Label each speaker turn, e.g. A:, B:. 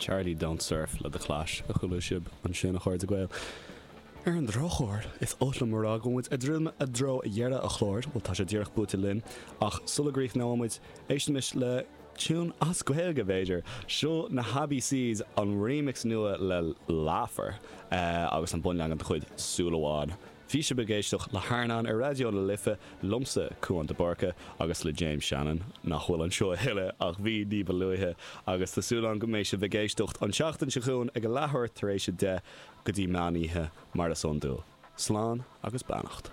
A: Charlie Don't Surf le The Clash a chuala sibh ansin, a chairde Gael. Ar an drochuair, is oth liom a rá go bhfuil muid ag druidim i dtreo dheireadh an chláir, bhuel tá sé díreach buailte linn, ach sula gcríochnóidh muid, éistimis le tiún as Gaeilge, b'fhéidir. Seo na hAbbey Seas, an remix nua le Laugher agus an bunleagan de chuid Súil Amháin. Bhí sibh ag éisteacht le hAirneán ar Raidió na Life, liomsa, Cúán de Búrca, agus le James Shannon, nach bhfuil anseo a thuilleadh, ach bhí ní ba luaithe, agus tá súil agam go mbeidh sibh ag éisteacht an tseachtain seo chugainn ag a leathuair tar éis 10 go dtí meán oíche, mar is iondúil. Slán agus beannacht.